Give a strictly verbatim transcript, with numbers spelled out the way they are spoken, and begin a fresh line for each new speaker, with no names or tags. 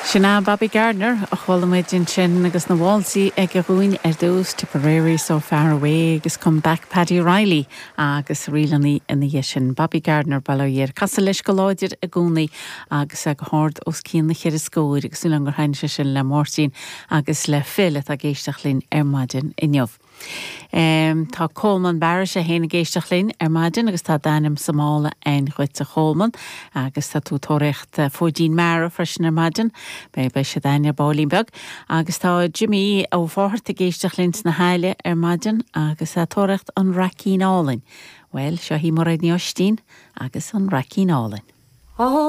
Sin é Bobby Gardner a chuala muid ansin agus na válsaí aige dhúinn ar dtús Tipperary so far away agus come back Paddy Reilly agus rílannaí ina dhiaidh sin Bobby Gardner bailíir Casa leis go láidir i gcónaí agus go hard os cionn na cheithre scór agus súil gur thaitin sé sin le Máirtín agus le Phil atá ag éisteacht linn ar maidin inniu. Um, tá Coleman Barris é féin ag éisteacht linn ar maidin agus tá d'ainm sa mála againn dhuit a Choleman agus tá tú tóraíocht fóidín mara freisin ar maidin, Be be sé daine bálín beag, agus tá Jimmy ó fáthart ag éisteacht linn sna hAille ar maidin agus tá tóraíocht an Raicín Álainn. Well seo í Mairéad Ní Oistín agus an Raicín Álainn.
Oh.